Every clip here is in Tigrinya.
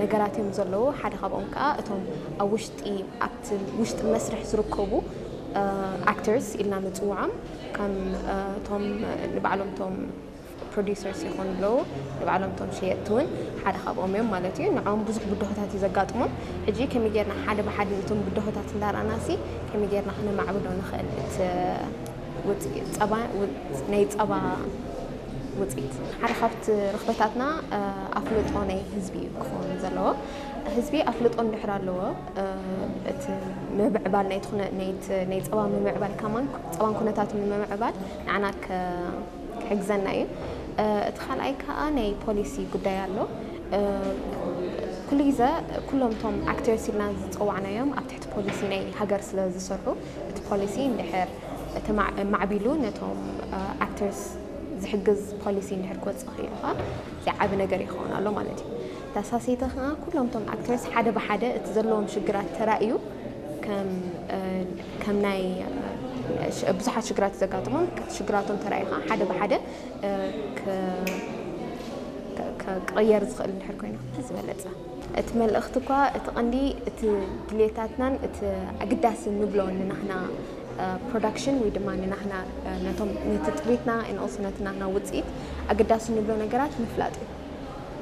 ነገራት እዮም ዘለዉ። ሓደ ካብኦም ከዓ እቶም ኣብ ውሽጢ ኣብቲ ውሽጢ መስርሕ ዝርከቡ ኣክተርስ ኢልና ንፅውዖም፣ ከም እቶም ንባዕሎም እቶም ፕሮዲሰርስ ይኾኑ ኣለዉ፣ ንባዕሎም እቶም ሸየጥቲ እውን ሓደ ካብኦም እዮም ማለት እዩ። ንዕኦም ብዙሕ ብድሆታት እዩ ዘጋጥሞም። ሕጂ ከመይ ጌርና ሓደ ብሓደ ነቶም ብድሆታት እንዳረኣናሲ ከመይ ጌርና ክነማዕብሎ ንኽእል እቲ ውፅኢት ጸባ ናይ ጸባ ውፅኢት ሓደ ካብቲ ርኽበታትና ኣፍልጦ ናይ ህዝቢ እዩ ክኸውን ዘለዎ። ህዝቢ ኣፍልጦ እንድሕር ኣለዎ እቲ ምምዕባል ናይ ጸባ ምምዕባል ከማን ጸባን ኩነታቱ ንምምዕባል ንዓና ክሕግዘና እዩ። እቲ ካልኣይ ከዓ ናይ ፖሊሲ ጉዳይ ኣሎ። ኩሉ ግዜ ኩሎም እቶም ኣክተርስ ኢልና ዝፀዋዕናዮም ኣብ ትሕቲ ፖሊሲ ናይ ሃገር ስለ ዝሰርሑ እቲ ፖሊሲ እንድሕር ማዕቢሉ ነቶም ኣክተርስ ዝሕግዝ ፖሊሲ እንድሕር ክወፅእ ክኢሉ ከዓ እዚ ዓቢ ነገር ይኸውን ኣሎ ማለት እዩ። ተሳሰይተ ከዓ ኩሎም እቶም ኣክተርስ ሓደ ብሓደ እቲ ዘለዎም ሽግራት ተራእዩ ከም ናይ ብዙሓት ሽግራት ዘጋጥሞም ሽግራቶም ተራኢኻ ሓደ ብሓደ ክቕየር ዝኽእል እንድሕር ኮይና ዝበለፀ። እቲ መልእኽቲ እኳ እቲ ቀንዲ እቲ ድሌታትናን እቲ ኣግዳሲ ንብሎ ንናህና ፕሮዳክሽን ወይ ድማ ንናህና ነቶም ነቲ ጥሪትና ኦልሶ ነቲ ናህና ውፅኢት ኣገዳሲ ንብሎ ነገራት ምፍላጥ እዩ።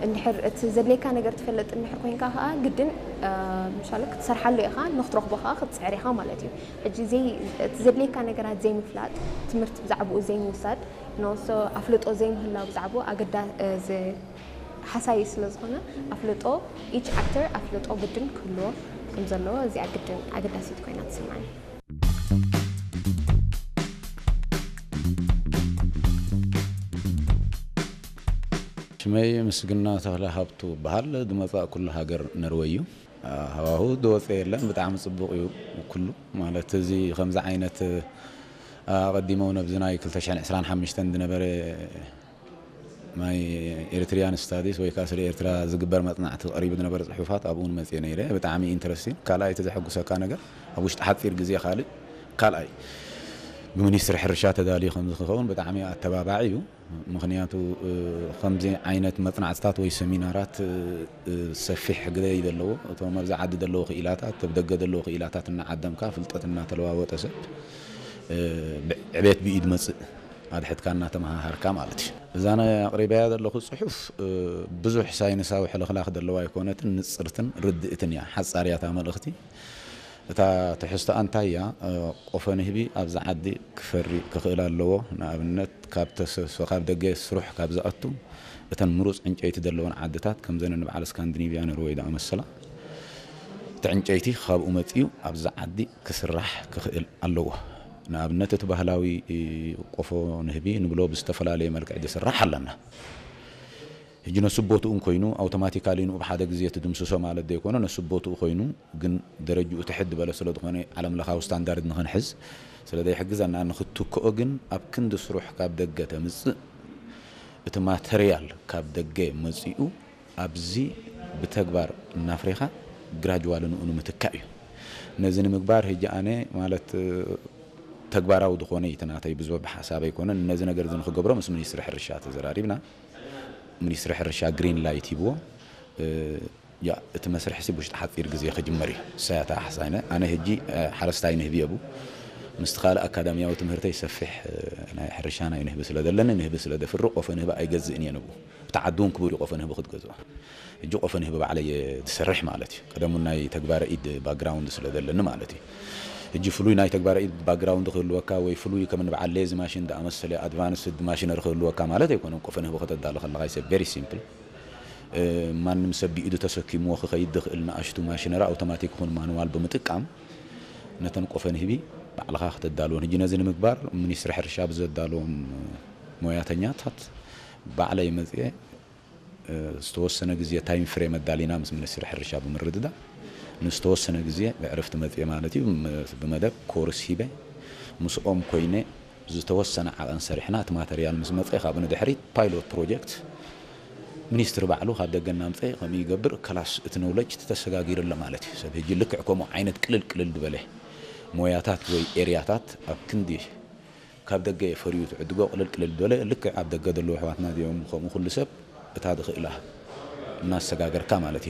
እንድሕር እቲ ዘድልየካ ነገር ትፈልጥ እንድሕር ኮይንካ ከዓ ግድን ምሻለ ክትሰርሓሉ ኢኻ ንክትረኽቦ ከዓ ክትፅዕር ኢኻ ማለት እዩ። ሕጂ እቲ ዘድልየካ ነገራት ዘይምፍላጥ ትምህርቲ ብዛዕባኡ ዘይምውሳድ ኖሶ ኣፍልጦ ዘይምህላው ብዛዕባኡ ኣገዳ ሓሳይ ስለ ዝኾነ ኣፍልጦ ኢች ኣክተር ኣፍልጦ ግድን ክህልዎ ከም ዘለዎ እዚኣ ግድን ኣገዳሲት ኮይና ትስምዓኒ። ሽመይ ምስግና ተኽለ ሃብቱ በሃል ድመጻእ ኩሉ ሃገር ነርወይ እዩ። ሃዋሁ ዝወፀ የለን። ብጣዕሚ ፅቡቕ እዩ ኩሉ ማለት እዚ ከምዚ ዓይነት ኣቐዲሞም ነብዚ ናይ ክልተ ሽሕን ዕስራን ሓሙሽተን ዝነበረ ናይ ኤሪትሪያን ስታዲስ ወይ ከዓ ስለ ኤርትራ ዝግበር መፅናዕቲ ቀሪቡ ዝነበረ ፅሑፋት ኣብኡ እውን መፅየ ነይረ። ብጣዕሚ ኢንተረስቲንግ። ካልኣይ እቲ ዘሐጉሰካ ነገር ኣብ ውሽጢ ሓፂር ግዜ ካልእ ካልኣይ ብሚኒስትሪ ሕርሻ ተዳልዩ ከም ዝኸውን ብጣዕሚ ኣተባባዒ እዩ። ምኽንያቱ ከምዚ ዓይነት መፅናዕትታት ወይ ሰሚናራት ሰፊሕ ግደ እዩ ዘለዎ። እቶም ኣብዚ ዓዲ ዘለዉ ክኢላታት፣ ኣብ ደገ ዘለዉ ክኢላታት እናዓደምካ ፍልጠት እናተለዋወጠ ሰብ ዕቤት ብኢድ መፅእ ኣድሕድካ እናተመሃሃርካ ማለት እዩ። እዛ ናይ ኣቕሪበያ ዘለኹ ፅሑፍ ብዙሕ ሳይንሳዊ ሕልኽላኽ ዘለዋ ኣይኮነትን፣ ንፅርትን ርድእትን እያ። ሓፃር እያ እታ መልእኽቲ። እታ ትሕዝቶኣ እንታይ እያ? ቆፎ ንህቢ ኣብዚ ዓዲ ክፈሪ ክኽእል ኣለዎ። ንኣብነት ካብ ተሰሶ ካብ ደገ ስሩሕ ካብ ዝኣቱ እተን ምሩፅ ዕንጨይቲ ዘለወን ዓድታት ከምዘን ንበዓል ስካንዲኒቪያ ኖርወይ ዝኣመሰላ እቲ ዕንጨይቲ ካብኡ መፂኡ ኣብዚ ዓዲ ክስራሕ ክኽእል ኣለዎ። ንኣብነት እቲ ባህላዊ ቆፎ ንህቢ ንብሎ ብዝተፈላለየ መልክዕ ዝስራሕ ኣለና። ሕጂ ነሱ ቦትኡ ኮይኑ ኣውቶማቲካሊ ንኡ ብሓደ ግዜ ትድምስሶ ማለት ዘይኮነ ነሱ ቦትኡ ኮይኑ ግን ደረጅኡ ትሕት ዝበለ ስለ ዝኾነ ዓለም ለኻዊ ስታንዳርድ ንኽንሕዝ ስለ ዘይሕግዘና ንኽትክኦ ግን ኣብ ክንዲ ስሩሕ ካብ ደገ ተምፅእ እቲ ማተርያል ካብ ደገ መፂኡ ኣብዚ ብተግባር እናፍሬኻ ግራጅዋሊ ንኡ ንምትካእ እዩ። ነዚ ንምግባር ሕጂ ኣነ ማለት ተግባራዊ ዝኾነ እዩ እቲ ናተይ ብዙሕ ብሓሳብ ኣይኮነን። ነዚ ነገር እዚ ንኽገብሮ ምስ ሚኒስትሪ ሕርሻ ተዘራሪብና። ሚኒስትሪ ሕርሻ ግሪን ላይት ሂብዎ። ያ እቲ መስርሕ ሲ ውሽጢ ሓፂር ግዜ ክጅመር እዩ። ሳያታ ሓሳይነ ኣነ ሕጂ ሓረስታይ ንህቢ የቡ ምስቲ ካልእ ኣካዳሚያዊ ትምህርተይ ሰፊሕ ናይ ሕርሻ ናይ ንህቢ ስለ ዘለኒ ንህቢ ስለ ደፍሪ ቆፈ ንህቢ ኣይገዝእን እየ ንቡ እቲ ዓዲ እውን ክቡር እዩ ቆፈ ንህቢ ክትገዝኦ። ሕጂ ቆፈ ንህቢ ባዕለይ እየ ዝሰርሕ ማለት እዩ። ቀደሙ ናይ ተግባረ ኢድ ባክግራውንድ ስለ ዘለኒ ማለት እዩ። ሕጂ ፍሉይ ናይ ተግባረ ኢድ ባክግራውንድ ክህልወካ ወይ ፍሉይ ከም ንበዓል ሌዚ ማሽን ዝኣመሰለ ኣድቫንስድ ማሽነሪ ክህልወካ ማለት ኣይኮነን። ቆፈ ንህቢ ከተዳሉ ከለኻ ይሰ ቨሪ ሲምፕል ማንም ሰብ ብኢዱ ተሰኪምዎ ክኸይድ ዝኽእል ንኣሽቱ ማሽነሪ ኣውቶማቲክ ይኹን ማኑዋል ብምጥቃም ነተን ቆፈ ንህቢ ባዕልኻ ከተዳልወን። ሕጂ ነዚ ንምግባር ሚኒስትሪ ሕርሻ ብዘዳለዎም ሞያተኛታት ባዕለይ መፅየ ዝተወሰነ ግዜ ታይም ፍሬም ኣዳሊና ምስ ሚኒስትሪ ሕርሻ ብምርድዳእ ንዝተወሰነ ግዜ ብዕርፍቲ መፅየ ማለት እዩ። ብመደብ ኮርስ ሂበ ምስኦም ኮይነ ዝተወሰነ ዓቐን ሰሪሕና እቲ ማተርያል ምስ መፀ ካብኡ ንድሕሪት ፓይሎት ፕሮጀክት ሚኒስትሪ ባዕሉ ካብ ደገ እናምፀ ከምኡ ይገብር። ከላስ እቲ ኖውለጅ ተሰጋጊሩ ኣሎ ማለት እዩ። ሰብ ሕጂ ልክዕ ከምኡ ዓይነት ቅልል ቅልል ዝበለ ሞያታት ወይ ኤርያታት ኣብ ክንዲ ካብ ደገ ፈርዩ ትዕድጎ ቅልል ቅልል ዝበለ ልክዕ ኣብ ደገ ዘለዉ ኣሕዋትና እዚኦም ከምኡ ኩሉ ሰብ እታ ዝኽእላ እናሰጋገርካ ማለት እዩ።